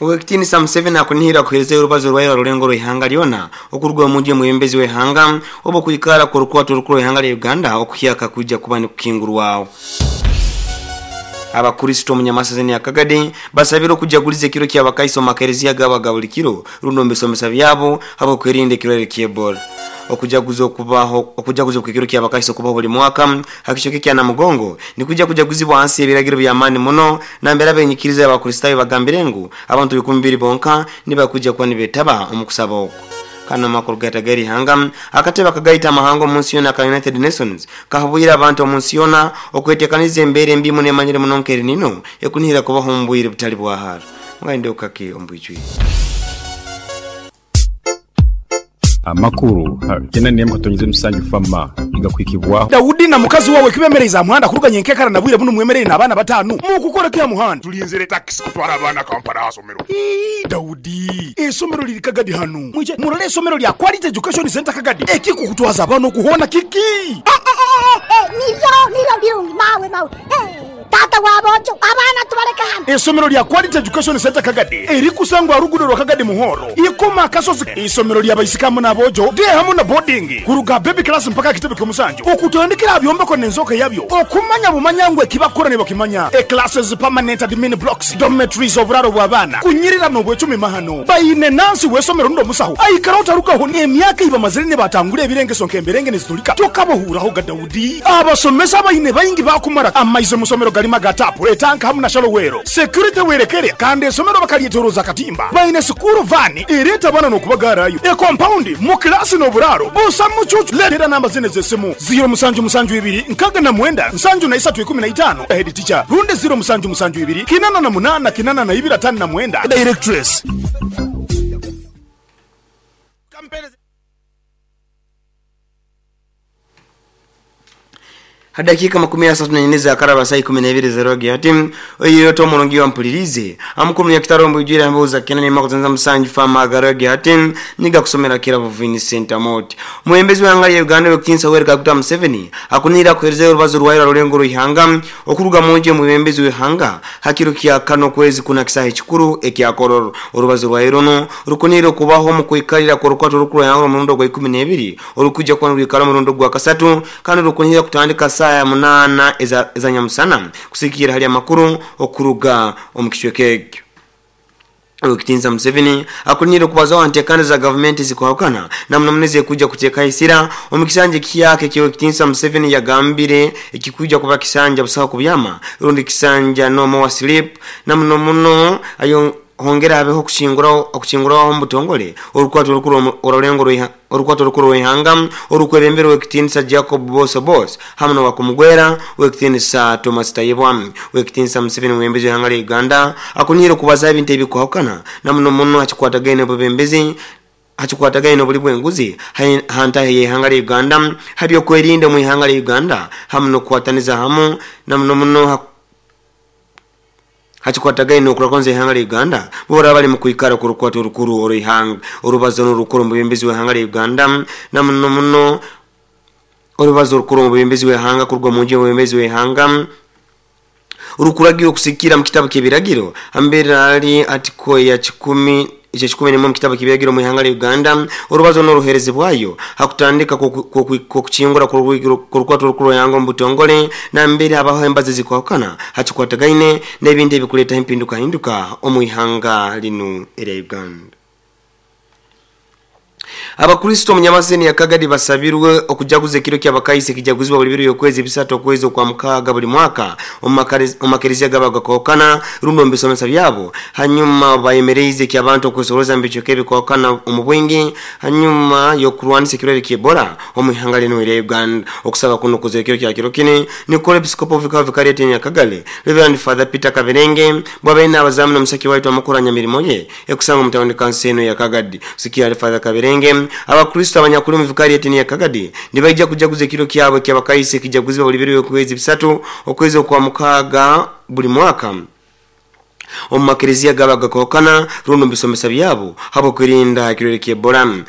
Owekitinisa Museveni akunihira kuherezayo orubazo rwayo orulengo rw'ihanga lyona okuruga omunju y'omwebembezi w'ihanga oba okwikara kw'orukwato orukuru rw'ihanga lya Uganda okuhyaka kwija kuba nikukingurwaho. Abakuristo omu Nyamasazeni ya Kagadi basabirwe okujaguliza ekiro ky'abakaiso omu makereziya gaabo aga buli kiro rundi omu bisomesa byabo habw'okwerinda ekirwaire ky'Ebola. Okujaguza okubaho okujaguza okw'ekiro ky'abakaiso okubaho buli mwaka ha kicweka ekya Namugongo nikwija kujaguzibwa hansi y'ebiragiro by'amaani muno nambere abenyikiriza y'Abakristaayo bagambire ngu abantu 2,000 bonka nibakwija kuba nibetaba omu kusaba oku. Kandi n'amakuru gataga ihanga, akatebe akagaita amahanga omu nsi yoona aka United Nations kahabwire abantu omu nsi yoona okwetekaniza embeera embi muno emanyire muno nka El Nino ekunihira kubaho omu bwire butali bwa hara. Mugende okake omu bwijwire. Amakuru kyenda n'emwe katonyeze musanju fama igakuhikibwaho. Daudi na mukazi wawe kibemereize aha muhanda kuruga nyenkekara na bwire bunu mwemereire n'abaana bataanu. Mukukora ki aha muhanda? Tulinzire takisi kutwara abaana Kampala aha somero. Ii, Daudi, eisomero liri Kagadi hanu. Mwije murole eisomero lya Quality Education Centre Kagadi. Ekikukutwaza abaana okuhoona kiki? Nibyo, nibyo birungi mawe, mawe. Taata wa boojo, abaana tubaleke hano. Eisomero lya Quality Education Centre Kagadi erikusangwa aha luguudo rwa Kagadi Muhoro, Ikoma Akasozi. Eisomero lya baisiki hamu n'aboojo, day hamu na boarding, kuruga aha baby class mpaka aha kitebe ky'omusanju, okutandikira aha byombeko n'enzooka yabyo, okumanya bumanya ngu ekibakukora nibakimanya. E Classes, permanent admin blocks, dormitories, oburaaro bw'abaana, kunyirira n'obwecumi mahano. Baine nansi w'eisomero rundi omusaho aikara otarugaho n'emyaka ei bamazire nibatangura ebirengeso nk'emberenge nizitulika tokabahuuraho ga Daudi. Abasomesa abaine baingi baakumara amaizi omu somero garimu aga taapu, etanka hamu na shallow well. Security werekere kandi esomero bakalyetoroza akatimba. Baine sikuuru vaani ereeta abaana n'okubagaarayo. Ekompaundi mu kilaasi n'oburaaro busa mucuucu. Leetera namba zinu ez'esimu, ziiro musanju musanju ibiri nkaaga na mwenda nsanju na isatu ikumi na itaano, Head teacher, rundi ziiro musanju musanju ibiri kinana na munaana kinana na ibiri ataano na mwenda, Directress. Ha dakiika 34 ezaakaraba saa 12 ez'erwagyo ati, Oihireho omurungi wampuliriize. Amukuru Munyakitara omu bwijwire ambuuza Kena n'emaku zanza musanju Farmer agarwagyo ati, Niga kusomera Kirabo Vincent Amooti. Omwebembezi w'eihanga lya Uganda Ow'ekitiinisa Yoweri Kaguta Museveni akuniire akuheerezayo orubazo rwayo rwa rurengo rw'eihanga okuruga munju y'omwebembezi w'eihanga ha kiro kya kana okwezi kuna kisaaha ekikuru ekya Kololo. Orubazo rwayo runu rukuniire okubaho omu kwikarira kw'orukwato orukuru rw'eihanga orw'omurundi ogwa ikumi n'ebiri orukwija kuba nirwikara omurundi ogwa kasatu kandi rukunihira kutandika saaha munaana eza nyamusana kusigikirra hali amakuru okuruga omu kicweka ekyo. Owekitinisa Museveni akunihire okubazaho aha ntekaniza za gavumenti ezikwahukana na muno muno ezekwija kuteekaho esira omu kisanja ekihyaka eki Owekitinisa Museveni yagambire ekikwija kuba kisanja busaho kubyama rundi kisanja no more sleep na muno muno ayo Hongera habeho okucingurwaho omu butongole Orukwato Orukuru orw'Orulengo Orukwato Orukuru rw'Ihanga orukwebemberwa Ow'ekitiinisa Jacob Boso Boss hamu n'owakumugwera Ow'ekitiinisa Thomas Tayebwa. Ow'ekitiinisa Museveni Omwebembezi w'ihanga lya Uganda akuniire okubazaho ebintu ebikwahukana na muno muno ha kikwatagaine n'obwebembezi ha kikwatagaine n'obuli bw'enguzi ha ntaahi y'ihanga lya Uganda, ha by'okwerinda omu ihanga lya Uganda hamu n'okukwataniza hamu na muno muno ha Ha kikwatagaine n'okurakonza ihanga lya Uganda, bo baraba bali mu kwikara kw'orukwata orukuru orw'ihanga. Orubazo n'orukuru omu bwebembezi bw'ihanga lya Uganda, na muno muno orubazo orukuru omu bwebembezi bw'ihanga kuruga omu nju y'omwebembezi w'ihanga orukuragirwa okusigikirra mu kitabu ky'ebiragiro hambere hali atiko ya kikumi ekyekikumi n'emwe omu kitabu ky'ebiragiro omu ihanga lya Uganda. Orubazo n'oruherezibwayo ha kutandika kw'okukingura kw'orukwato orukuru rw'ihanga omu butongole nambere habaho embazo ezikwahukana ha kikwatagaine n'ebintu ebikuleetaho empindukahinduka omu ihanga linu erya Uganda. Abakristo omu Nyamaseni ya Kagadi basabirwe okujaguza ekiro ky'Abakaisi ekijaguzibwa buli biro y'okwezi bisatu okwezi okwa mukaaga buli mwaka omu makereziya gabo agakwahukana rundi omu bisomesa byabo. Hanyuma bayemereize eky'abantu okwesorooza omu bicweka ebikwahukana omu bwingi hanyuma y'okurwanisa ekirwaire ky'Ebola omu ihanga linu erya Uganda. Okusaba kunu kuzire ekiro kya kiro kini nikukora Episikopo Vikao Vikariate Nyakagale, Rev. Father Peter Kaberenge bwabaire nabazaamu n'omusaki waitu amakuru ha nyamirimo ye ekusangwa omu tawuni kanso enu eya Kagadi. Sikiali Father Kaberenge, Abakristo abanyakuli omu vikariate enu eya Kagadi nibaija kujaguza ekiro kyabo eky'Abakaisi ekijaguzibwa buli biro by'okwezi bisatu okwezi okwa mukaaga buli mwaka. Omu makereziya gaba gakokana rundi omu bisomesa byabo habw'okwerinda ekirwaire ky'Ebola.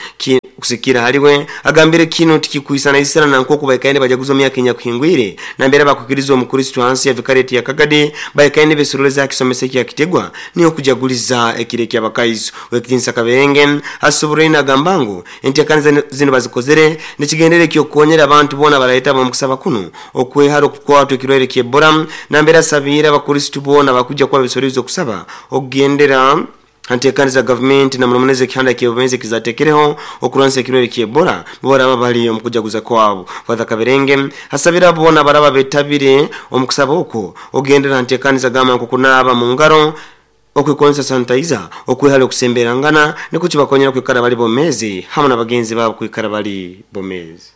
Kusikira haliwe agambire kino tikikwisanaisana na nk'oku baikaire bajaguza myaka enyakuhingwire nambere bakwikiriza omukristo hansi ya vikareti ya Kagadi baikaire nibesoroleza kisomesa ekya Kitegwa niyo kujaguliza ekiro ky'abakaiso. Wekitinsa Kaberenge asoboraine agamba ngu enteekaniza zino bazikozere nikigendere eky'okukonyera abantu boona baraheta omu kusaba kuno okwehara okukwatwa ekirwaire ky'Ebola, nambere asabiire abakristo boona bakujja kuba besoroliza okusaba okugendera anteekaniza gavumenti na muno ekihanda ky'obumenzi kizatekereho okulwanisa ekirwaire ky'Ebola baraba bali omu kujaguza kwabo. Father Kaberenge asabira boona baraba betabire omu kusaba okwo ogendera nteekaniza gamba nko kunaaba mu ngaro, okwikozesa sanitizer, okwehara okusemberangana nikwo kibakonyera kwikara bali bomezi hamwe n'abagenzi babo kwikara bali bomezi.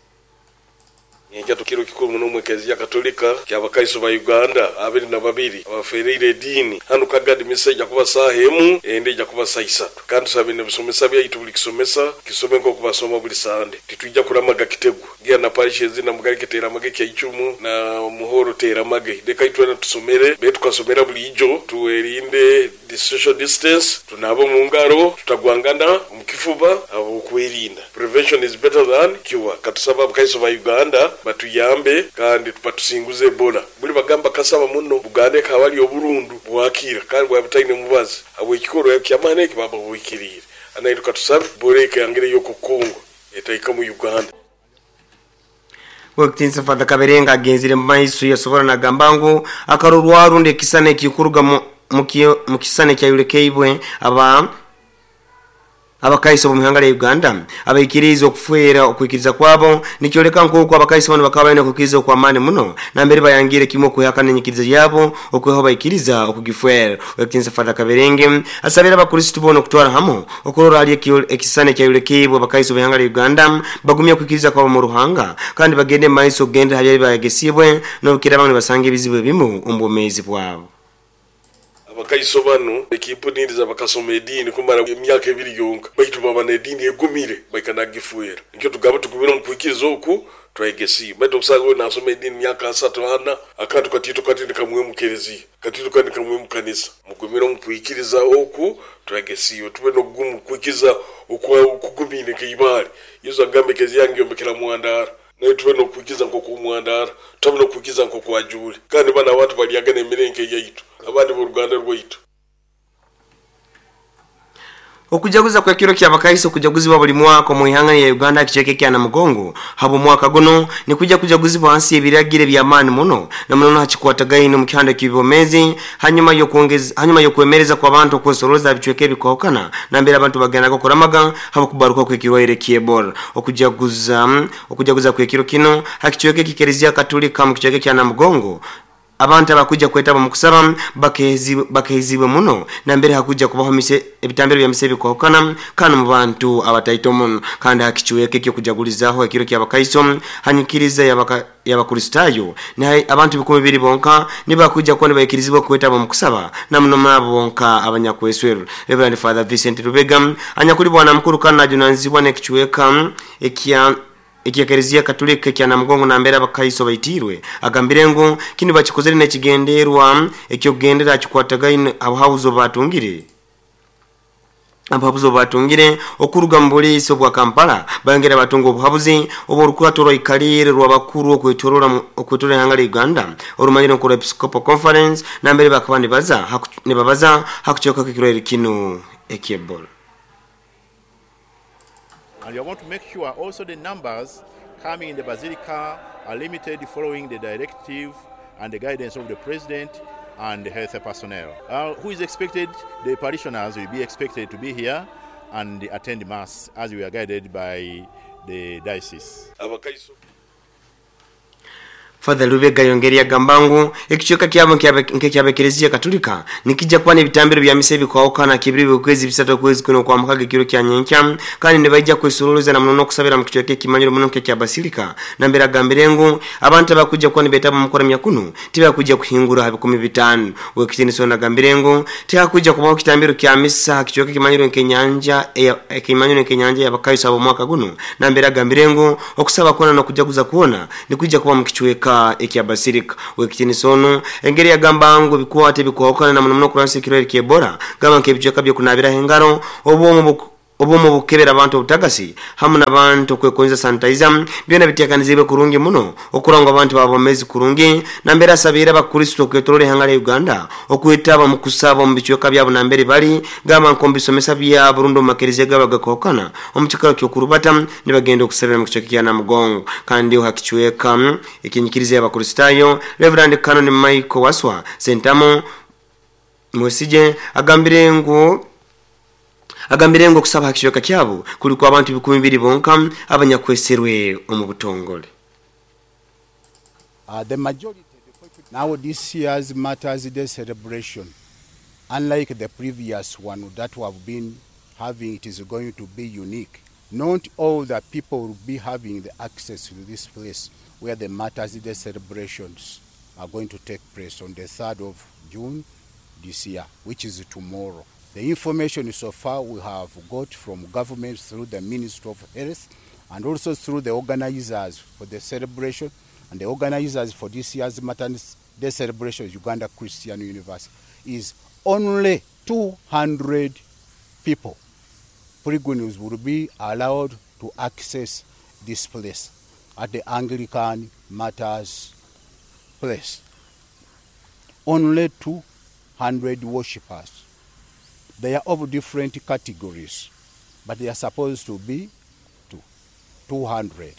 Nyenkya tukiro kikuru muno mu Ekereziya Katolika ky'abakaiso ba Uganda 22 abafereire ediini hanu Kagadi. Misa ijja kuba saaha 1, endi ijja kuba saa 3. Kandi tusabe n'ebisomesa byaitu buli kisomesa kisome nk'oku basoma buli Sande. Titwija kuramaga Kitegwa ngira na parish ezindi na Mugarike teramage Kyaicumu na Muhoro teramage. Leka itwena tusomere be tukasomera buli ijo, tuwerinde social distance, tunabe omu ngaro, tutagwangana omu kifuba habw'okwerinda. Prevention is better than cure. Katusaba abakaiso ba Uganda batuyambe kandi batusinguze Ebola. Buli bagamba kasaba muno Buganda ekaba ali oburundu bwakira kandi bwaba butaine mubazi habw'ekikorwa ky'amaani eki baba buhikiriire. Anaitwe katusabe Ebola ekangireyo okukungu etaika mu Uganda. Wekitinsa Father Kaberenge agenzire mu maiso yasobora nagamba ngu akarorwa rundi ekisana ekikuruga mu kisana ekyayolekeibwe abakaiso b'omu lya Uganda abaikiriza okufwera okwikiriza kwabo nikyoleka nk'oku abakaiso bano bakaba balina okwikiriza okw'amaani muno nambere bayangire kimwe okwehakana enyikiriza yabo okweho baikiriza okugifwera. Wekitinsa Father Kaberenge asabira abakristo boona okutwara hamu okurora hali ekisana ekyayolekeibwe abakaiso b'ihanga lya Uganda bagumye okwikiriza kwabo mu Ruhanga kandi bagende mu maiso okugendera hali bayagesibwe n'obukira bamwe nibasanga ebizibu ebimu omu bwomeezi bwabo. Abakaiso bano ekimpuniriza bakasoma ediini kumara emyaka 2 yonka, baitu baba n'ediini egumire baikanagifuera. Nikyo tugamba tugumire omu kwikiriza oku twegesiibwe. Baitu okusanga we nasoma ediini myaka 3 4 akantu katito kati nikamwe mu kereziya, katito kati nikamwe mu kanisa. Mugumire omu kwikiriza oku twegesiibwe, tube n'okugumu kwikiriza okugumire nk'eibaare. Yesu agamba ekereziya yange yombekera mwandara. Naye tube n'okwikiza nk'oku mwandara, tube n'okwikiza nk'oku ajuule. Kandi bano abantu balyaga n'emirenke yaitu, abandi b'oruganda rwaitu. Okujaguza kw'ekiro ky'abakaiso kujaguzibwa buli mwaka omu ihanga lya Uganda ekicweka ekya Namugongo habw'omwaka guno nikujja kujaguzibwa hansi y'ebiragiro eby'amaani muno na muno hakikwatagaine omu kihanda ky'ebyomeezi hanyuma y'okwemereza kw'abantu okwesorooza bicweka ebikahukana nambere abantu bagendaga okuramaga habw'okubaruka kw'ekirwaire ky'Ebola. Okujaguza kw'ekiro kino hakicweka ekikereziya Katolika mu kicweka ekya Namugongo abantu abakuja kwetaba mu kusaba bakehezibwe muno nambere hakuja kubaho ebitambiro bya mise ebikahukana kandi mu bantu abataito muno. Kandi hakichweka ekyokujagulizaho ekiro ky'abakaiso hanyikiriza y'abakristayo naye abantu 2,000 bonka nibakuja kuba nibaikirizibwa kwetaba mu kusaba na muno nabo bonka abanyakweswero. Reverend Father Vincent Rubega anyakuli bwana mukuru kandi ajunanizibwa n'ekichweka ekya Ekereziya Katolika ekya Namugongo nambere abakaiso baitirwe agambire ngu kino bakikozere n'ekigenderwa ekyokugendera akikwatagaine abuhabuzi obubatungire okuruga mu buliisi obwa Kampala. Bayongera batunga obuhabuzi obw'orukurato rwaikalire rw'abakuru okwetorora ihanga lya Uganda orumanyire nko Episcopal Conference nambere bakaba nibabaza hakucweka kw'ekirwaire kino eky'Ebola. And we want to make sure also the numbers coming in the basilica are limited following the directive and the guidance of the president and the health personnel. Who is expected? The parishioners will be expected to be here and attend mass as we are guided by the diocese. Father Lubega yongeri agamba ngu ekicweka kyabo nk'ekyabekereziya Katolika nikijja kuba n'ebitambiro bya misa ebikahukana kibiri bwezi 3 kwezi kuno kwa mukaga ekiro kya nyenkya kandi nibaija kwesoroleza na muno n'okusabira mu kicweka ekimanyiro muno nk'ekya Basilika. Nambere agambire ngu abantu abakujja kuba nibetaba mu kuramya kuno tibakujja kuhingura ha 5,000. Wekitiniso nagambire ngu tihakujja kubaho kitambiro kya misa kicweka ekimanyiro nk'enyanja ekimanyiro nk'enyanja y'abakaiso ab'omwaka guno. Nambere agambire ngu okusaba kuona n'okujaguza kuona nikujja kuba mu kicweka kicweka ekya Basilica. Wekitinisa ono engeri yagamba ngu bikwate bikwawukana na muno muno kurwanisa ekirwaire kya Ebola gamba nk'ebicweka by'okunabiraho engaro, obwomu bukebera abantu obutagasi hamu n'abantu okwekonza sanitizer byona biteekanizibwe kurungi muno okurora ngu abantu babomezi kurungi. Nambere asabiire abakristo okwetorola ihanga lya Uganda okwetaba mu kusaba omu bicweka byabo nambere bali gamba nk'omu bisomesa byabo rundi omu makereziya gabo agakwahukana omu kikaro ky'okurubata nibagenda okusabira mu kicweka kya Namugongo. Kandi ha kicweka eky'enyikiriza y'Abakristaayo, Reverend Canon Michael Waswa Sentamu Mwesige agambire ngu okusaba ha kicweka kyabo kuli kwa abantu 2,000 bonka abanyakweserwe omu butongole. The majority, now this year's Martyrs Day celebration, unlike the previous one that we have been having, it is going to be unique. Not all the people will be having the access to this place where the Martyrs Day celebrations are going to take place on the 3rd of June this year, which is tomorrow. The information so far we have got from government through the Ministry of Health and also through the organizers for the celebration, and the organizers for this year's Martyrs Day celebration, Uganda Christian University, is only 200 people. Pilgrims will be allowed to access this place at the Anglican Martyrs Place. Only 200 worshippers. They are of different categories, but they are supposed to be 200.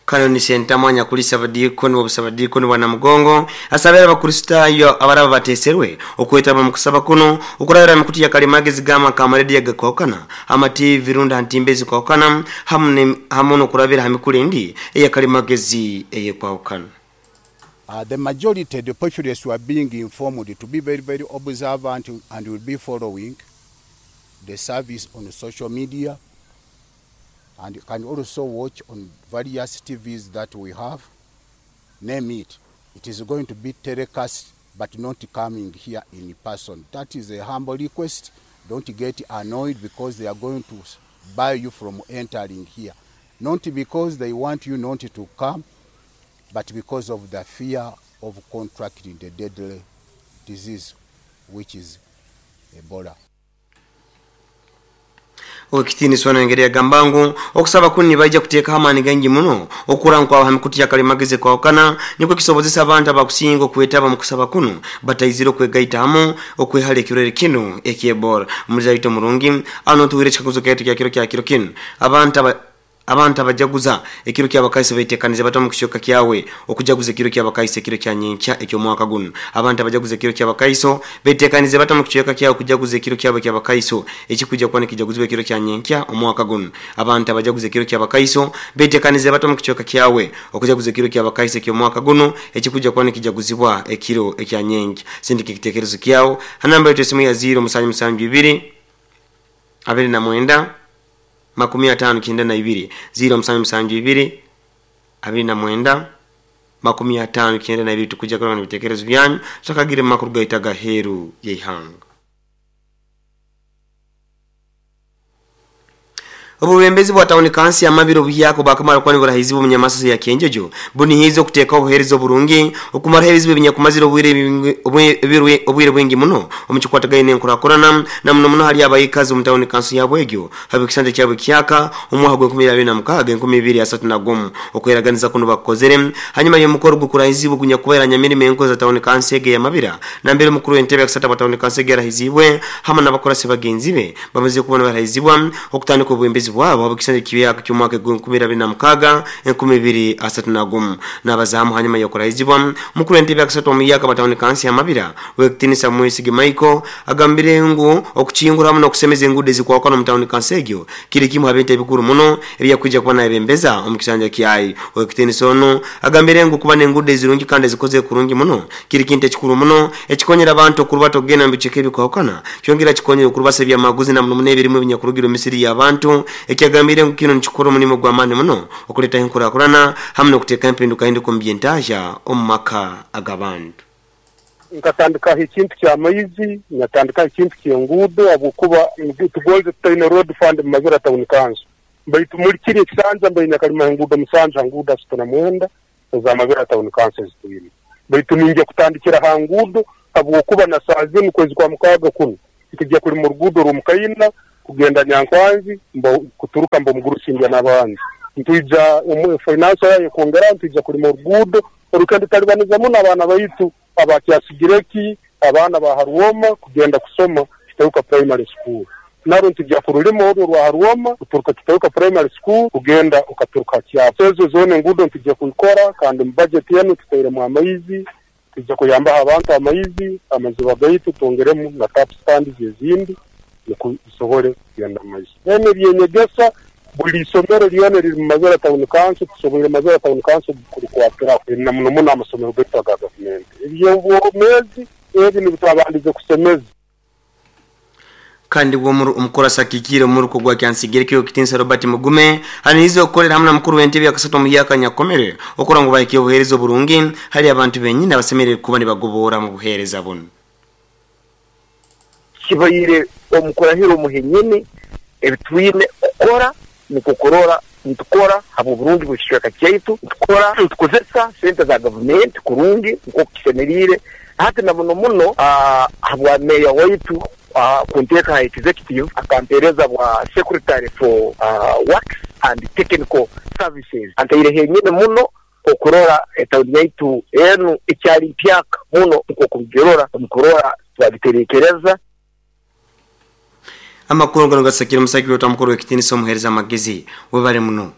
Kanoni Sentamu anyakulisa abadiikoni b'obusabadiikoni bwa Namugongo asabira abakristaayo abaraba bateeserwe okwetaba mu kusaba kuno okurabira mikutu ya kalimagezi gama kamarediyo agakwahukana, ama TV rundi ha ntimbe ezikwahukana hamu n'okurabira ha mikuru endi eya kalimagezi eyekwahukana. The majority, the populace, were being informed to be very, very observant and will be following the service on social media and you can also watch on various TVs that we have. Name it. It is going to be telecast but not coming here in person. That is a humble request. Don't get annoyed because they are going to bar you from entering here. Not because they want you not to come, but because of the fear of contracting the deadly disease, which is Ebola. Okitiiniswa nengeri yagamba ngu okusaba kunu nibaija kuteekaho amaani gaingi muno okura nkwaho ha mikutu ya kalimagezi kwahukana nikwo kisobozesa abantu abakusinga okwetaba mu kusaba kuno bataizire okwegaita hamu okwehala ekirwaire kinu eky'Ebola. Omuliza waitu omurungi, ano tuwire ekikaguzo kyaitu kya kiro kinu: abantu abajaguza ekiro ky'abakaisi betekanize bata mu kicweka kyawe okujaguza ekiro ky'abakaisi ekiro kya nyenkya eky'omwaka guno? Abantu abajaguza ekiro ky'abakaiso betekanize bata mu kicweka kyawe okujaguza ekiro kyabo ky'abakaiso ekikujja kuba nikijaguzibwa ekiro kya nyenkya omwaka guno? Abantu abajaguza ekiro ky'abakaiso betekanize bata mu kicweka kyawe okujaguza ekiro ky'abakaiso eky'omwaka guno ekikujja kuba nikijaguzibwa ekiro ekya nyenkya? Sindika ekitekerezo kyawe ha namba yetu esimu ya 0772 29 59 92, 0772 29 59 92. Tukujja kuraba n'ebitekerezo byanyu tutakagire mu makuru gaitu agaheeru y'eihanga. Obubembezi bwa tawuni kansi amabiro obuhyaka bwakamara kuba niburahizibwa omunyamasasi ya Kyenjojo bunihiize okuteekaho obuheereza oburungi okumaraho ebizibu ebinyakumazire obwire bwingi muno omu kikwatagaine n'enkurakurana na muno muno hali abaikazi omu tawuni kansi yabwe egyo haba ekisanja kyabwe kyaka omwaka gw'e 2026 2031. Okweraganiza kuno bakukozere hanyuma y'omukoro gukurahizibwa ogunyakubaire nyamirimo enkozi za tawuni kansi ege ya nambere omukuru w'entebe ya kusatu bwa tawuni kansi ege yarahizibwe hamwe n'abakurasi bagenzi be bamaze kubona barahizibwa okutandika obwembezi bwabo habw'ekisanja kibyaka ky'omwaka 2026 2031. N'abazamu hanyuma y'okurahizibwa, omukuru w'entebe ya kusatu omuyaka batawuni kansi ya Mabira, Wekitinisa Mwesige Michael, agambire ngu okukingura hamu n'okusemeza enguudo ezikwakana omu tawuni kansi egyo kiri kimu ha bintu ebikuru muno ebyakwija kuba nayebembeza omu kisanja kyayi. Wekitinisa ono agambire ngu kuba n'enguudo ezirungi kandi ezikoze kurungi muno kiri kintu ekikuru muno ekikonyera abantu okurubata okugenda mu bicweka ebikwahukana, kyongera kikonyera okurubasa ebyamaguzi na muno muno ebirimu ebinyakurugira omu misiri y'abantu, ekyagambire ngu kino nikikora omulimu gw'amaani muno okuleetaho enkurakurana hamu n'okuteeka empindukahinduka omu byentahya omu maka ag'abantu. Nkatandikaho ekintu ky'amaizi, natandikaho ekintu ky'enguudo, habwokuba tugonze tutaine road fund mu Mabira Town Council, baitu muli kiri ekisanja mbaine nakalima enguudo 7 ha nguudo 39. eza Mabera Town Council ezitwine. Baitu ningya kutandikira ha nguudo habwokuba na saaha zinu kwezi kwa mukaaga kunu ntugya kulima oruguudo rw'Omukaina kugenda Nyankwanzi mbo kuturuka mbo Omugurusi ndya n'abandi. Ntwija omu finance yayo ekwongeraho ntwija kulima oruguudo orukenda tutalibaniza muno abaana baitu aba Kyasigireki, abaana ba Harwoma kugenda kusoma Kiteuka Primary School. Narwo ntujya kurulima orwo orwa Harwoma kuturuka Kiteuka Primary School kugenda okaturuka Kyabo. Ezo zoona enguudo ntujya kuzikora kandi mu budget enu tutairemu amaizi, tujya kuyambaho abantu amaizi, amaziba gaitu twongeremu na tap stands ezindi nukwo bisobole kugenda mu maiso. Then eby'enyegesa buli isomero lyona eriri mu Mabera Town Council tusoboire Mabera Town Council kulikwatiraho na muno muno amasomero gaitu aga gavumenti. Eby'obwomeezi ebi nibyo twabandize kusemeza. Kandi bwo omukurasi akikiire omuruko gwa Kyansigireki Okitinsa Robert Mugume anirize okukolera hamu na mukuru w'entebe yakasatu omuhyaka Nyakomere okura ngu bahikye obuheereza oburungi hali abantu benyini abasemerire kuba nibagoboora mu buheereza bunu. Kibaire omu kurahira omu henyini ebitwine kukora nukwo kurora nitukora habw'oburungi bw'ekicweka kyaitu, nitukora nitukozesa sente za gavumenti kurungi nk'oku kisemeriire hati na muno muno habwa meeya waitu kunteeka ha executive akampeereza bwa secretary for works and technical services antaire henyini muno okurora etawuni yaitu enu ekyali mpyaka muno nk'oku mugirora omu kurora twagiterekereza. Amakuru ganu gasakire omusagiki waitu omukuru w'ekitinisa omuhereza amagezi. Webale muno.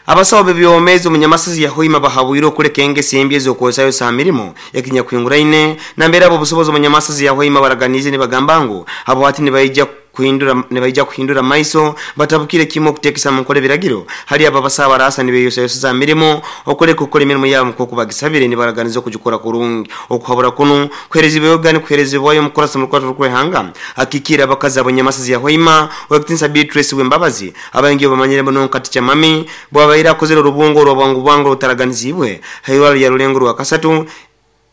Abasawo b'ebyomezi omu Nyamasazi ya Hoima bahabwire okuleka engeso embi ez'okwosayosa ha mirimo ekinyakuhinguraine nambere ab'obusobozi omu Nyamasazi ya Hoima baraganiize nibagamba ngu abo hati nibaija kuhindura nibaija kuhindura amaiso batabukire kimu okuteekesa mu nkora ebiragiro hali abo abasawo abaraasa nibeyosayoseza ha mirimo okuleka okukora emirimo yabo nk'oku bagisabire nibaraganiza okugikora kurungi. Okuhabura kunu kuherezibwega nikuherezibwayo omukurasi omu rukwato rw'eihanga akikiire abakazi abo Nyamasazi ya Hoima Owekitinisa Beatrice Wembabazi abaingi obu bamanyire muno nka Ticha Mami bwabaire akozere orubungo orwa bwangu bwangu orutaraganiziibwe ha irwarro lya Rulengo rwakasatu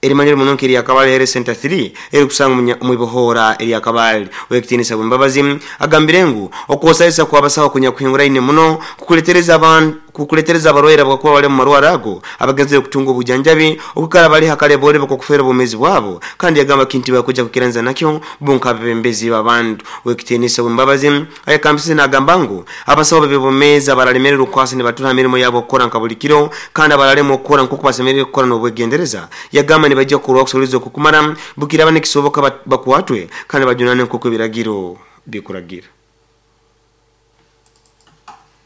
erimanyirwe muno nk'erya Kabale Health Centre 3 erikusangwa omu ibohoora erya Kabale. Owekitinisa Wembabazi agambire ngu okwosayosa kw'abasaho kunyakuhinguraine muno kukuletereza abantu kukuletereza abarwaire abakuba bali omu marwarro ago abagenzere kutunga obujanjabi okwikara bali ha kalebolebo k'okufeerwa obwomeezi bwabo kandi yagamba kintu tibakwija kwikiraniza nakyo bo nk'abebembezi b'abantu. Owekitinisa Wembabazi ayekambisize nagamba ngu abasaho b'ebyobwomeezi abaralemererwa okukwasa nibatura ha mirimo yabo okukora nka buli kiro kandi abaralema okukora nk'oku basemeriire kukora n'obwegendereza yagamba nibaija kukorwaho okusorooza okukumara bukiraaba nikisoboka bakwatwe kandi bajunanwe nk'oku ebiragiro bikuragira.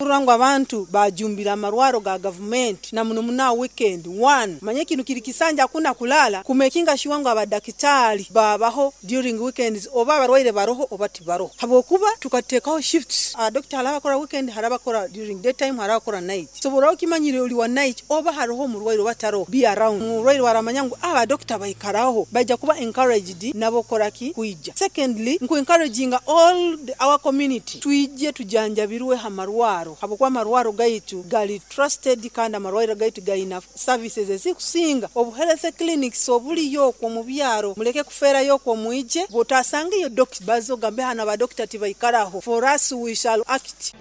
Kurora ngu abantu bajumbira amarwaro ga gavumenti na muno muno aha weekend one manya kinu kiri kisanja hakuna kulala kumekinga sure ngu abadakitari babaho during weekends oba abarwaire baroho oba tibaroho habwokuba tukatekaho shifts abadokita hariho abakora weekend hariho abakora during day time hariho abakora night so bworaba okimanyire ori wa night oba haroho omurwaire oba taroho be around omurwaire waramanya ngu abadokita baikaraho baija kuba encouraged nabo kukoraki kwija secondly nku encouraginga all our community twije tujanjabirwe ha marwaro habwokuba amarwaro gaitu gari trusted kandi amarwariro gaitu gaina services ezikusinga obu health clinics oburiyo okwo omu byaro mureke kufeerayo okwo mwije bwotasangeyo dokita baza ogambe hanu abadokita tibaikaraho for us we shall act.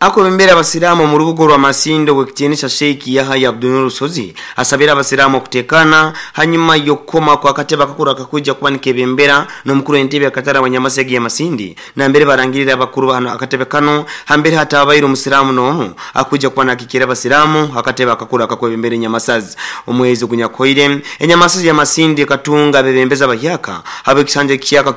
Akwebembera abasiraamu omu rubuga orwa Masindi Owekitinisa Sheikh Yahaya Abdunuru Rusozi asabire abasiraamu okutekana hanyuma y'okukoma kw'akatebe akakuru akakwija kuba nikebembera n'omukuru w'entebe akatara wa Nyamasege ya Masindi nambere barangirire abakuru bahano akatebe kanu hambere hatabaire omusiraamu n'omu akwija kuba nakikira abasiraamu akatebe akakuru akakwebembera Enyamasazi. Omwezi ogunyakuhoire Enyamasazi ya Masindi ekatunga abebembezi abahyaka habw'ekisanja ekihyaka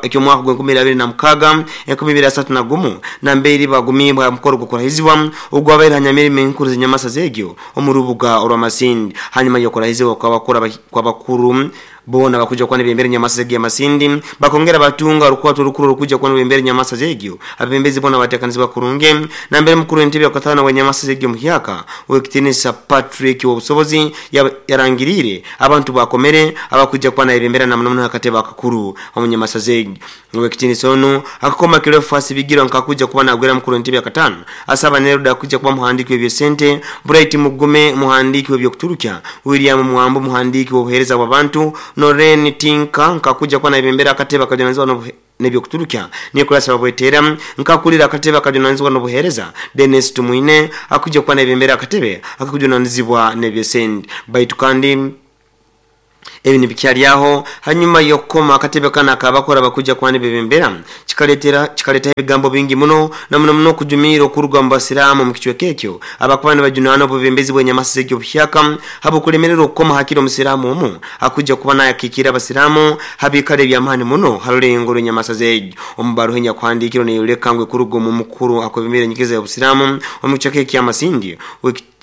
eky'omwaka gw'enkumi abiri na mukaaga enkumi ibiri asatu na gumu nambere bagumibwa mukoro gw'okurahizibwa ogwabaire ha nyamirimo enkuru z'Enyamasazi egyo omu rubuga orwa Masindi hanyuma y'okurahizibwa kw'abakuru boona bakuja kuba nibembera Enyamasazi egyo ya Masindi bakongera batunga orukwato orukuru orukuja kuba nibembera Enyamasazi egyo abebembezi boona bateekanizibwa kurungi nambere mukuru w'entebe yakatano wa Enyamasazi egyo muhyaka Owekitinisa Patrick Obusobozi yarangirire abantu bakomere abakuja kuba nibembera na muno muno akatebe akakuru omu Nyamasazi egyo. Owekitinisa onu akakoma Cleophas Bigirwa nkakuja kuba nagwera mukuru w'entebe yakatano asaba Neruda kuja kuba muhandiki w'ebyesente Bright Mugume muhandiki w'ebyokuturukya William Mwambo muhandiki w'obuheereza bw'abantu Noren Tinka nkakuja kuba nibembera akatebe akajonazibwa n'ebyokuturukya Nicholas Babwetera nkakulira akatebe akajunanizibwa n'obuheereza Dennis Tumwine akujja kuba n'ebembera akatebe akakujunanizibwa n'ebyesente baitu kandi ebi nibikyalyaho hanyuma y'okukoma akatebe kana akabakora bakujja kuba n'ebebembera kikaleta ebigambo bingi muno na muno muno okujumiira okuruga mu basiraamu mu kicweka ekyo abakuba nibajunaana obubembezi bw'enyamasi z'ekyobuhyaka habw'okulemererwa okukoma hakiri omusiraamu omu akujja kuba nayakiikira abasiraamu habiikara eby'amaani muno ha rulengo rw'enyamasa z'egyo. Omu baruha enyakuhandiikirwe neyoleka ngu ekuruga omu mukuru akwebembera enyikiriza y'obusiraamu omu kicweka eky'Amasindi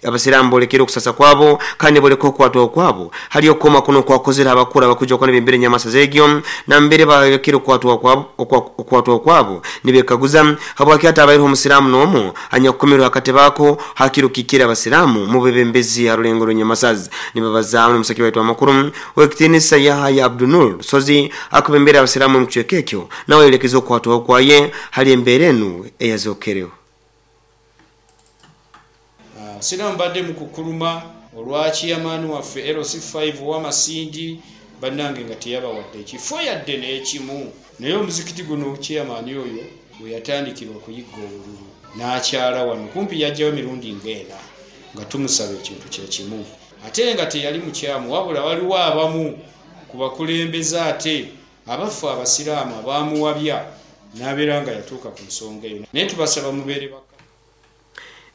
abasiraamu bolekere okusasa kwabo kandi boleka okwatwaho kwabo hali okukoma kuno okwakozere abakuru abakujja kuba nibembera enyamasa zegyo nambere balekere okwatwaho kwabo nibekaguza habwaki hataabaireho omusiraamu n'omu anyakukomerwe akatebe ako hakiri okukikira abasiraamu mu bebembezi ha rulengo rw'enyamasazi. Nibabazaamu n'omusaki waitu amakuru w'ekitiinisa Yahaya Abdunur Sozi akubembera abasiraamu omu kicweka ekyo nawe ayolekeza okwatwaho kwaye hali embeera enu eyazokereho. Abasiraamu mbadde mukukkuluma olwa chairman waffe LC5 ow'Amasindi bannange nga teyabawadde ekifo yadde n'ekimu. Naye omuzikiti guno chairman oyo we yatandikira okuyigga obululu n'akyala wano kumpi yajjayo mirundi ng'ena nga tumusaba ekintu kye kimu ate nga teyali mukyamu wabula waliwo abamu ku bakulembeze ate abaffe abasiraamu abaamuwabya n'abeera nga yatuuka ku nsonga eyo naye tubasaba mubeere baka.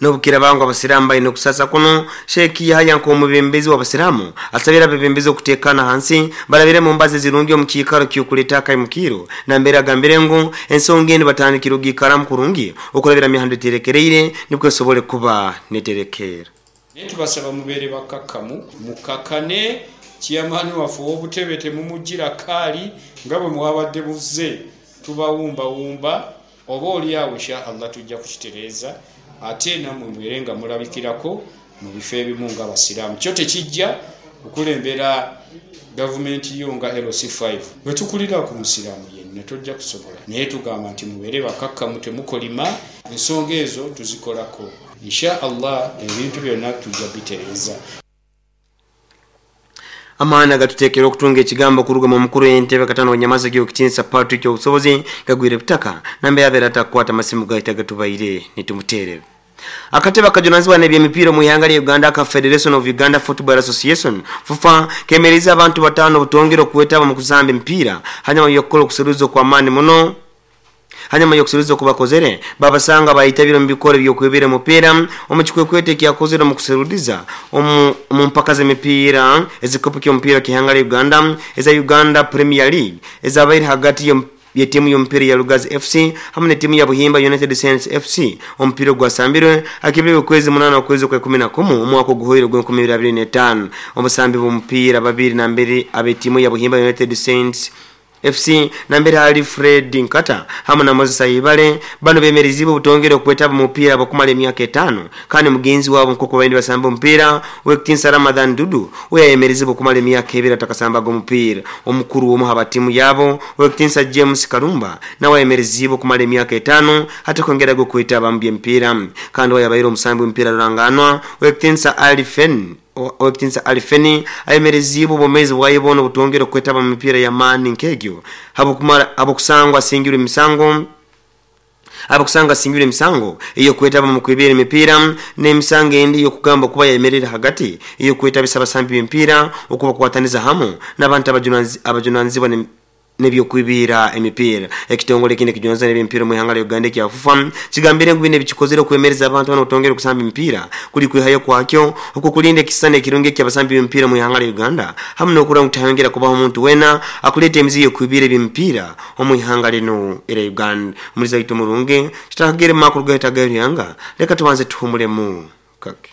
N'obukira bangu abasiraamu balina okusasa kuno Sheikh Yahaya nk'omubembezi w'abasiraamu asabira abebembezi okuteekana hansi balabire mu mbazi zirungi omu kiikaro ky'okuleeta akaimukiiro nambere agambire ngu ensonga enu batandikire ogiikaramu kurungi okulabira mihanda eterekereire nibwo esobole kuba neterekeera. Naye tubasaba mubeere bakkakkamu mukkakane chairman waffe ow'obutebe temumuggyira kaali nga bwe mwabadde muzze tubawumbawumba oba oli awo insha Allah tujja kukitereeza ate nammwe mubeere nga mulabikirako mu bifo ebimu nga abasiraamu. Kyo tekijja kukulembera gavumenti yo nga LC5 bwe tukulira ku musiraamu yenna tojja kusobola naye tugamba nti mubeere bakakkamu temukolima ensonga ezo tuzikolako insha Allah ebintu byonna tujja bitereeza. Amaani agatuteekera okutunga ekigambo okuruga mu mukuru entebe katano w'enyamasa gy'okutiinisa Patrick Obusobozi gagwire butaka nambe abeera atakukwata masimu gaita gatubaire nitumuteerera. Akatebe akajunanizibwa n'ebyemipiira mu ihanga lya Uganda aka Federation of Uganda Football Association FUFA kemereza abantu bataano obutongere okwetaba mu kuzamba emipiira hanyuma y'okukola okuseruza okw'amaani muno hanyuma y'okuseruza okubakozere babasanga bayitabire omu bikoro by'okwebera omupiira omu kikwekwete ekyakozere omu kuserudiza omu mpaka z'emipiira ezikopo ky'omupiira ky'ihanga lya Uganda eza Uganda Premier League ezabaire hagati y'etiimu y'omupiira ya Lugazi FC hamwe n'etiimu ya Buhimba United Saints FC. Omupiira ogwasambirwe akibirwe okwezi 8 okwezi kwa 11 omwaka oguhoire ogwa 2025. Omusambi bw'omupiira babiri nambere ab'etiimu ya Buhimba United Saints FC nambere ali Fred Nkata hamwe na Moses Ayibale bano bemerezibwe obutongere okwetaba mupiira bakumala emyaka 5 kandi mugenzi wabo nkoko baindi basamba omupiira w'ekitiinisa Ramadhan Dudu we yayemerezibwe okumala emyaka 2 atakasambaga omupiira. Omukuru w'omu haba tiimu yabo w'ekitiinisa James Kalumba nawe ayemerezibwe okumala emyaka 5 atakwongeraga okwetaba mu by'emipiira kandi we yabaire omusambi w'omupiira ruranganwa w'ekitiinisa Ali Fen owekitinsa Alifeni ayemerezibwe obwomezi bwaye boona obutongere okwetaba mu mipiira y'amaani nk'egyo habwokusangwa asingirwe emisango abakusanga asingirwe emisango ey'okwetaba mu kwebera emipiira n'emisango endi ey'okugamba kuba yayemerera hagati ey'okwetabisa abasambi b'emipiira okubakwataniza hamu n'abantu abajunanizibwa n'ebyokwibira emipiira. Ekitongole kindi ekijunanizibwa n'ebyemipiira mu ihanga lya Uganda ekya FUFA kigambire ngu bino ebikikozere okwemereza abantu bano obutongere okusamba emipiira kuli kwihayo kwakyo okukulinda ekisisani ekirungi eky'abasambi b'emipiira mu ihanga lya Uganda hamu n'okurora ngu tihayongera kubaho omuntu weena akuleeta emizi y'okwibira ebyemipiira omu ihanga linu erya Uganda. Omulizi waitu omurungi tutakagere mu makuru gaitu ag'ebyanga leka tubanze tuhumulemu kake.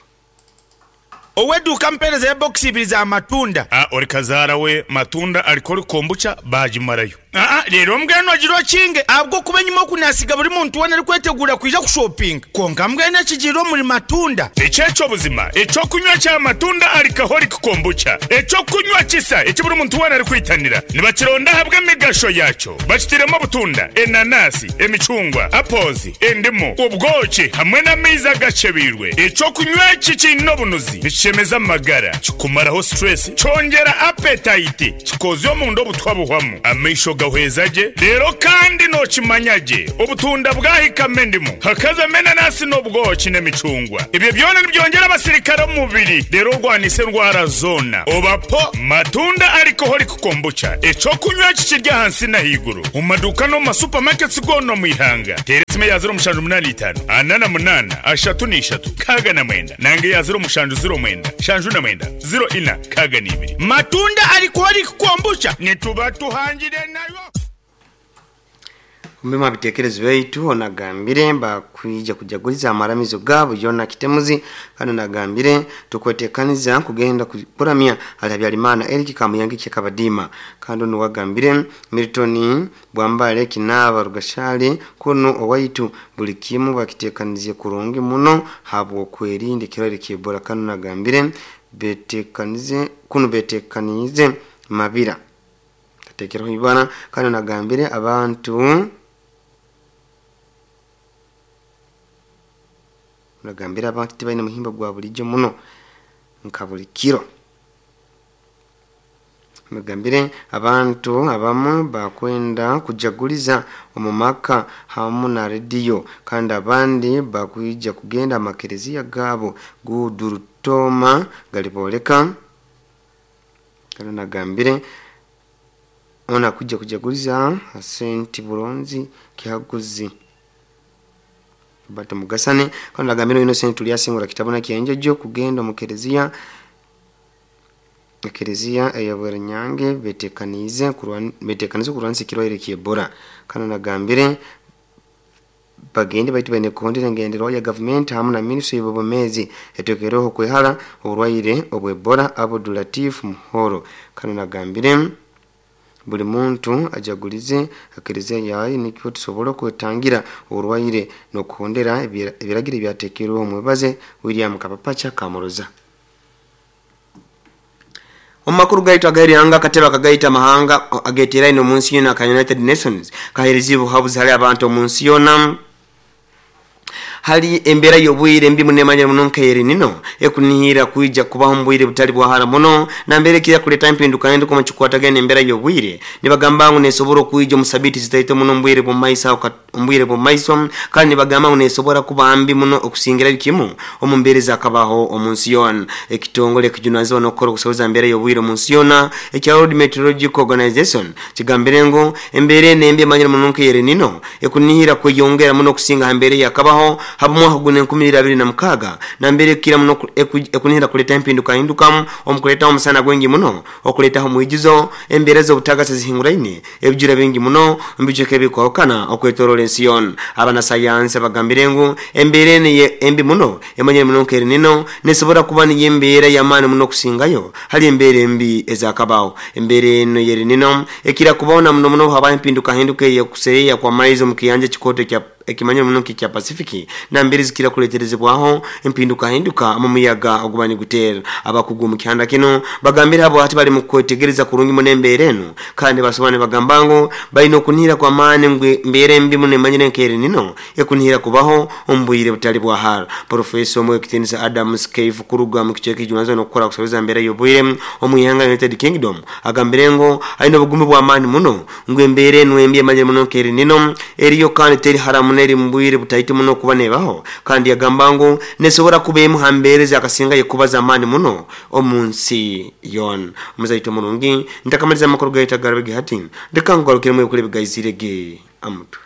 Ow'eduuka mpeereza ya bokisi ibiri za matunda. A Ori kazaara we matunda arikora kombucha baagimarayo. Aa Reero mbwenu ogire okinge ahabw'okuba enyima oku naasiga buri muntu weena arikweteguura kwija kushopinga. Kwonka mbwenu ekigiire omuri matunda. Eki eky'obuzima, eky'okunywa kya matunda Alcoholic Kombucha, eky'okunywa kisa eki buri muntu weena arikwitanira. Nibakironda ahabw'emigasho yaakyo. Bakitairemu obutunda, enanasi, emicungwa, apples, endimu, obwoki hamwe n'amaizi agakyebeirwe. Eky'okunywa eki kiine obunuzi, nikishemeza amagara, kikumaraho stress, kyongyera appetite, kikoozya omunda obutwa buhwamu, amaisho Nigahweza gye reero kandi nookimanya gye obutunda bwahikamu endimu hakazamu enanasi n'obwoki n'emicungwa. Ebyo byona nibyongyera abasirikare omu mubiri reero orwanise endwara zoona. Oba po! Matunda Alcoholic Kombucha, eky'okunywa eki kiri ahansi n'ahaiguru omu maduuka n'omu ma supermarkets goona omu ihanga. Teera esimu eya 0785 48 33 69 nanga eya 0709 79 04 62. Matunda Alcoholic Kombucha nituba tuhangire nayo. Omu bitekerezo byaitu onagambire bakwija kujaguliza amaramizo gaabo yona kitemuzi kandi onagambire tukwetekaniza kugenda kuramya hali Habyarimana Eric Kamuyangi Kyekabadima kandi ono wagambire Milton Bwambale Kinaba Rugashali kuno owaitu buli kimu bakitekanizie kurungi muno habwokwerinda ekirwaire kya Ebola kandi onagambire betekanize kuno betekanize Mabira tatekereho ibara kandi onagambire abantu nagambira abantu tibaine muhimbo gwa bulijjo muno nka buli kiro. Nagambire abantu abamu bakwenda kujaguliza omu maka hamu na rediyo kandi abandi bakwija kugenda amakereziya gaabo gudurutoma galiboleka kandi nagambire ona kuja kujaguliza senti buronzi kihaguzi Bato Mugasane kandi nagambire Innocent Tulyasingura kitabona kyenjojo kugenda mu kereziya ekereziya eyabweranyange betekanize kurwanisa ekirwaire kya Ebola kandi nagambire bagende baitu baine kuhondera engenderwaho ya gavumenti hamu na minisitule y'obwomeezi etekereho kwehara oburwaire obwa Ebola Abdul-Latif Muhoro kandi nagambire buli muntu ajagulize ekereziya yaye nikyo tusobora kwetangira oburwaire n'okuhondera ebiragiro ebyatekerweho. Omwebaze William Kapapacha Kamuruza. Omu makuru gaitu agairihanga akatebe akagaita amahanga ageteraine omu nsi yoona aka United Nations kaheereza obuhabuzi hali abantu omu nsi yoona hali embeera y'obwire embi muno emanyire muno nka El Nino ekunihira kwija kubaho omu bwire butali bwahara muno nambere ekira kuleta empinduka hinduka omu kikwatagana n'embeera y'obwire. Nibagamba ngu nesobora okwija omu sabiiti zitaito muno omu bwire bw'omumaiso kandi nibagamba ngu nesobora kuba mbi muno okusingirayo kimu omu mbeera ezakabaho omu nsi yoona. Ekitongole ekijunanizibwa n'okukora okusoboza embeera y'obwire omu nsi yoona ekya World Meteorological Organization kigambire ngu embeera eno embi emanyire muno nka El Nino ekunihira kweyongera muno okusinga ha mbeera eyakabaho haba mwaka guno 2026 nambere ekira muno ekunihira kuleta empinduka hindukamu omukuletaho omusana gwingi muno okuletaho omwijuzo embeera z'obutagasi zihinguraine ebijura bingi muno mbijweka ebikwahukana okwetorola ensi yoona. Abanasayansi bagambire ngu embeera eno embi muno emanyire muno nka El Nino nesobora kuba niyo embeera y'amaani muno okusingayo hali embeera embi ezakabaho. Embeera eno y'El Nino ekira kubaho na muno muno habaho empinduka hinduka ey'okuseeya kw'amaizi omu kiyanja ekikooto ekya ekimanyire muno nk'ekya Pacific nambere zikira kuleterezebwaho empinduka hinduka mu muyaga oguba niguteera. Abakugu mu kihanda kino bagambire abo hati bali mu kwetegereza kurungi muno embeera eno kandi basobora nibagamba ngu balina okunihira kw'amaani ngu embeera embi muno emanyire nka El Nino ekunihira kubaho omu bwire butali bwahara. Profesa omwe w'ekitiinisa Adams Cave kuruga mu kicweka ekijunanizibwa n'okukora kusoboza embeera y'obwire omu ihanga United Kingdom agambire ngu aine obugumu bw'amaani muno ngu embeera eno embi emanyire muno nka El Nino eriyo kandi teri hara muno eri mu bwire butaito muno kuba nebaho kandi yagamba ngu nesobora kuba emu ha mbeera ezakasingayo kuba z'amaani muno omu nsi yoona. Omuzaito murungi ntakamaliza amakuru gaitu agarabege hati ndeka nkugarukiremu ebikuru ebigaizirege amutwe.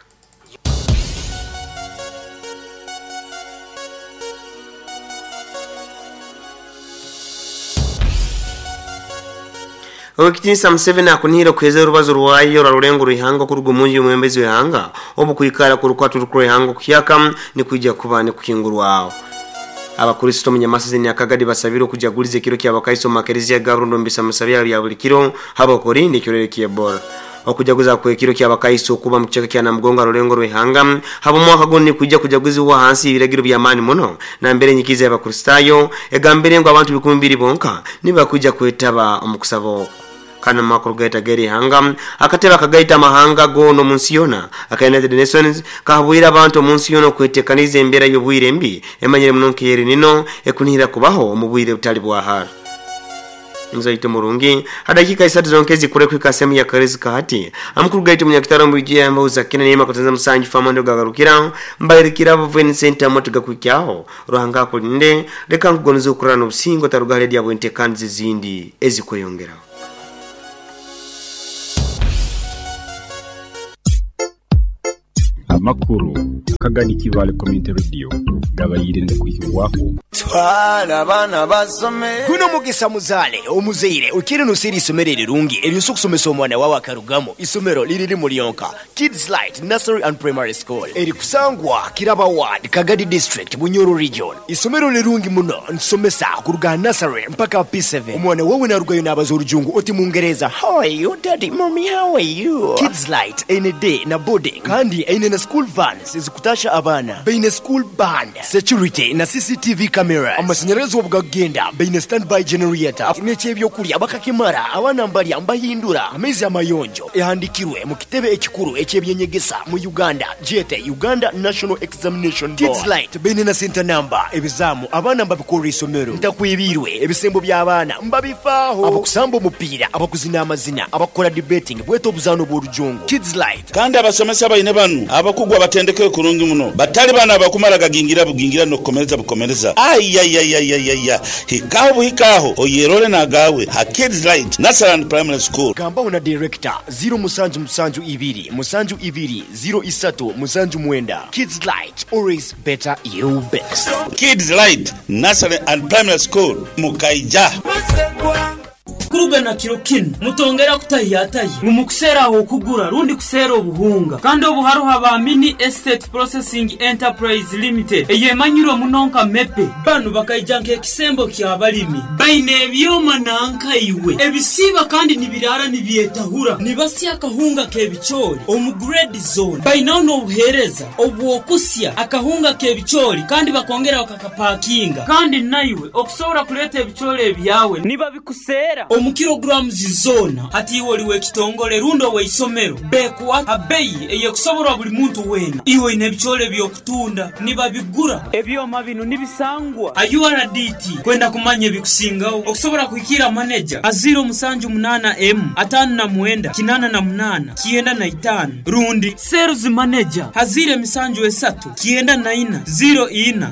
Owekitinisa Museveni akunihira okuheza orubazo rwayo rwa rulengo rw'ihanga okuruga omu nju y'omwebembezi w'ihanga obu kwikara kurukwata orukuru rw'ihanga okuhyaka nikwija kuba nikuhingurwaho. Abakristo omu Nyamasizi Nyakagadi basabire okujaguliza ekiro ky'abakaiso omu makereziya ga Burundi omu bisamusa byabo bya buli kiro habw'okurinda ekirwaire kya Ebola. Okujaguza kw'ekiro ky'abakaiso okuba mu kicweka kya Namugongo ha rulengo rw'ihanga habw'omwaka gunu nikwija kujaguzibwa hansi y'ebiragiro by'amaani muno nambere enyikiza y'Abakristaayo egambire ngu abantu 2,000 bonka nibakwija kwetaba omu kusaba oku. Kandi omu makuru gaitu ag'erihanga akatebe akagaita amahanga goona omu nsi yoona aka United Nations kahabwire abantu omu nsi yoona okwetekaniza embeera y'obwire embi emanyire muno nka El Nino ekunihira kubaho omu bwire butali bwahara. Mzaito murungi hadakika 3 zonke zikure kwika sehemu ya karezi kahati amukuru gaitu munyakitaro mbwijia yamba kina nema kutanza musanju famando gagarukira mbairikira Vincent amotuga kwikyaho ruhanga kulinde leka nkugonuza okurana obusingo tarugale dia bwente kanzi zindi ezikweyongera. Amakuru Kagadi Kivale Community Radio gabayire ndakwikibwaho. Twala abaana basome. Guno mugisa muzaale omuzaire okiri nusiri isomero erirungi eryosa okusomesa omwana wawe akarugamo. Isomero liriri mulyonka Kids Light Nursery and Primary School erikusangwa Kiraba Ward, Kagadi District, Bunyoro Region. Isomero lirungi muno nsomesa kuruga nursery mpaka P7. Omwana wawe narugayo n'abaza orujungu oti mungereza, how are you daddy, mommy, how are you. Kids Light eine day na boarding kandi eine na school vans ezikutasha abaana, baine school band, security na CCTV cameras, amashanyarazi obugagenda, baine standby generator n'ekyebyokulya bakakimara abaana mbalya mbahindura amaizi amayonjo. Ehandikirwe mu kitebe ekikuru ekyebyenyegesa mu Uganda jete Uganda National Examination Board. Kids Light baine na center number ebizamu abaana mbabikora isomero ntakwibirwe ebisembo by'abaana mbabifaaho, abakusamba omupiira, abakuzina amazina, abakora debating bweta obuzaano bw'orujungu. Kids Light kandi abasomesa baine banu abakugwa batendeke kurungi muno batali bana abakumara gagingira bugingira nokukomereza bukomereza ayayayayaya hikaho buhikaho oyerole nagawe ha Kids Light Nursery and Primary School. Gambaho na director 0772 72 03 79. Kids Light, always better you best. Kids Light Nursery and Primary School mukaija. Kuruga na kiro kinu mutongera kutahiyatayi mumukusera aho kugura rundi kusera obuhunga kandi obuharuha ba Mini Estate Processing Enterprise Limited eyemanyirwe munonka mepe banu bakaija nk'ekisembo ky'abalimi baine ebyoma nankaiwe ebisiba kandi nibirara nibyetahura nibasya akahunga k'ebicoori omu grade zone bainaho n'obuheereza obwokusya akahunga k'ebicoori kandi bakongera bakakapakinga kandi naiwe okusobora kuleeta ebicoori ebyawe nibabikusera omu kilograms zona hati iwe oliwe ekitongole rundo weisomero bekuwa abeyi eyekusoborwa buli muntu wena iwe ine ebicoori ebyokutunda nibabigura ebyoma bino nibisangwa URDT kwenda kumanya ebikusingaho okusobora kuhikira manager a 078 M 59 88 95 rundi sales manager hazire misanju esatu 94 04 10.